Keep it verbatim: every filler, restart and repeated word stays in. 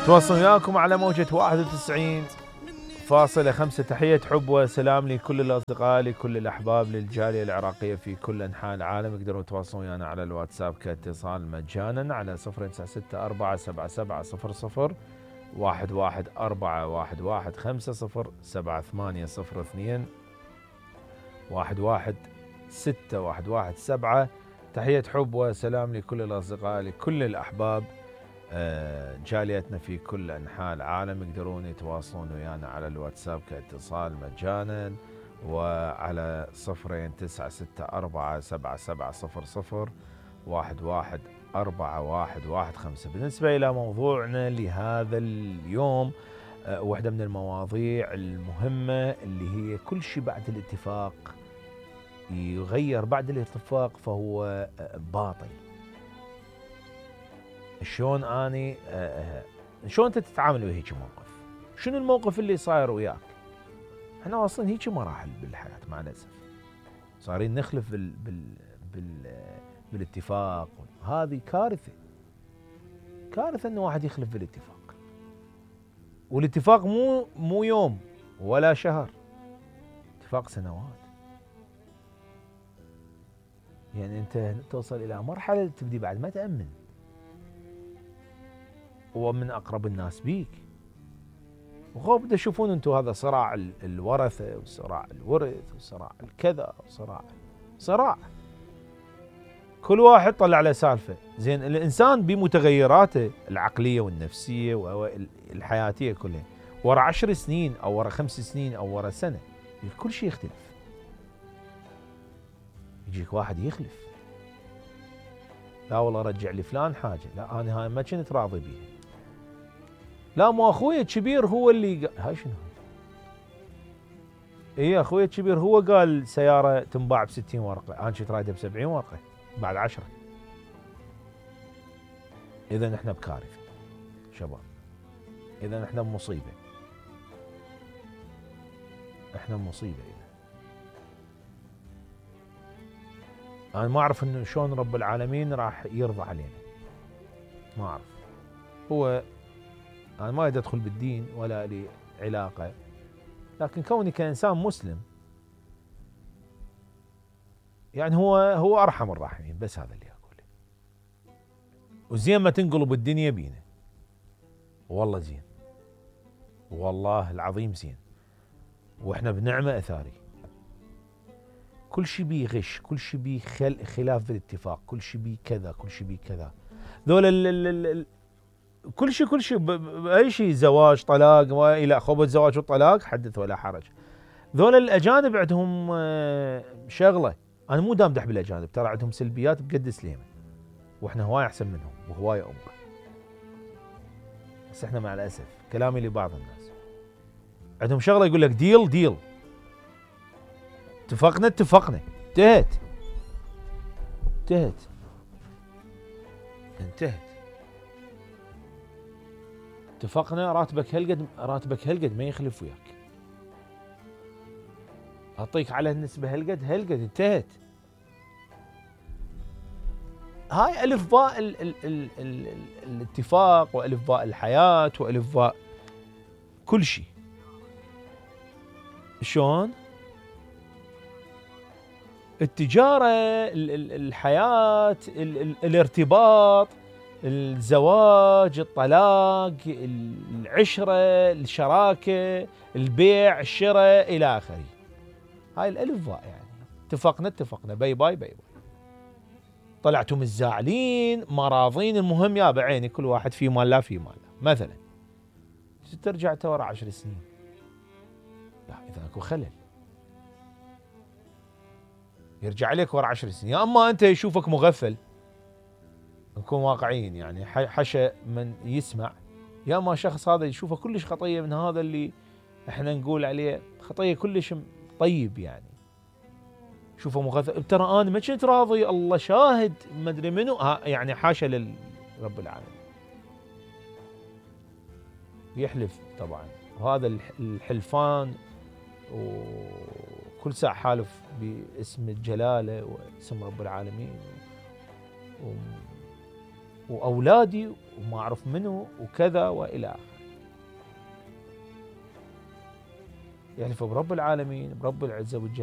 تواصل وياكم على موجة واحد وتسعين فاصلة خمسة. تحية حب وسلام لكل الأصدقاء، لكل الأحباب، للجالية العراقية في كل أنحاء العالم. يقدروا يتواصلون ويانا على الواتساب كاتصال مجانا على صفر تسعة ستة أربعة سبعة سبعة صفر صفر واحد واحد أربعة واحد واحد خمسة صفر سبعة ثمانية صفر اثنين واحد واحد ستة واحد واحد سبعة. تحية حب وسلام لكل الأصدقاء، لكل الأحباب، جاليتنا في كل أنحاء العالم. يقدرون يتواصلون ويانا على الواتساب كاتصال مجانا وعلى صفرين تسعة ستة أربعة سبعة سبعة صفر صفر واحد واحد أربعة واحد واحد خمسة. بالنسبة إلى موضوعنا لهذا اليوم، واحدة من المواضيع المهمة اللي هي كل شيء بعد الاتفاق يغير بعد الاتفاق فهو باطل. شلون اني أه شلون انت تتعامل وهيك موقف؟ شنو الموقف اللي صاير وياك؟ احنا واصلين هيك مراحل بالحياه مع الاسف، صارين نخلف بال بال بال بالاتفاق. هذه كارثه، كارثه انه واحد يخلف بالاتفاق. والاتفاق مو مو يوم ولا شهر، اتفاق سنوات. يعني انت توصل الى مرحله تبدي بعد ما تامن ومن اقرب الناس بيك، وخوف تشوفون انتم هذا صراع الورثه وصراع الورث وصراع الكذا وصراع صراع، كل واحد طلع له سالفه. زين الانسان بمتغيراته العقليه والنفسيه والحياتيه كلها، ورا عشر سنين او ورا خمس سنين او ورا سنه كل شيء يختلف. يجيك واحد يخلف، لا والله رجع لي فلان حاجه، لا انا هاي ما كنت راضي بيها، لا مو اخوي الكبير هو اللي قال. هاي شنو؟ اي اخوي الكبير هو قال سياره تنباع ب ستين ورقه، انا كنت رايدها ب سبعين ورقه بعد عشرة. اذا احنا بكارثه شباب، اذا احنا بمصيبه، احنا بمصيبه. إذا انا ما اعرف انه شلون رب العالمين راح يرضى علينا، ما اعرف. هو انا ما اريد ادخل بالدين ولا لي علاقه، لكن كوني كانسان مسلم يعني هو هو ارحم الراحمين، بس هذا اللي اقوله. وزين ما تنقلب الدنيا بينا، والله زين، والله العظيم زين، واحنا بنعمه اثاري. كل شيء بيه غش، كل شيء بيه خل خلاف بالاتفاق، كل شيء بيه كذا، كل شيء بيه كذا. ذول ال ال ال كل شيء كل شيء اي شيء، زواج طلاق والى خبط زواج وطلاق حدث ولا حرج. ذول الاجانب عندهم شغله، انا مو دامدح بالاجانب، ترى عندهم سلبيات بقد سليمه، واحنا هواي احسن منهم وهواي امه. بس احنا مع الاسف كلامي لبعض الناس عندهم شغله يقول لك ديل ديل، اتفقنا اتفقنا، انتهت انتهت انتهت اتفقنا، راتبك هالقد، راتبك هالقد ما يخلف وياك، اعطيك على النسبه هالقد هالقد، انتهت. هاي الف باء ال ال ال ال ال الاتفاق، والف باء الحياه، والف باء كل شيء. شلون؟ التجاره، ال ال الحياه، ال ال الارتباط، الزواج، الطلاق، العشره، الشراكه، البيع، الشراء، الى اخره. هاي الالف باء يعني. اتفقنا اتفقنا، باي باي باي باي. طلعتم الزاعلين ما راضين، المهم يا بعيني كل واحد في مال لا في مال مثلا. ترجع ورا عشر سنين، لا اذا اكو خلل يرجع عليك ورا عشر سنين. يا اما انت يشوفك مغفل، نكون واقعيين يعني، حشا من يسمع، يا اما شخص هذا يشوفه كلش خطيه من هذا اللي احنا نقول عليه خطيه كلش طيب يعني، شوفه مغفل. ترى انا ما كنت راضي، الله شاهد، ما ادري منو، يعني حاشا لرب العالمين. يحلف طبعا، وهذا الحلفان وكل ساعه حالف باسم الجلاله واسم رب العالمين وأولادي وما أعرف منه وكذا وإلى آخره. يحلف برب العالمين برب العزة والجلال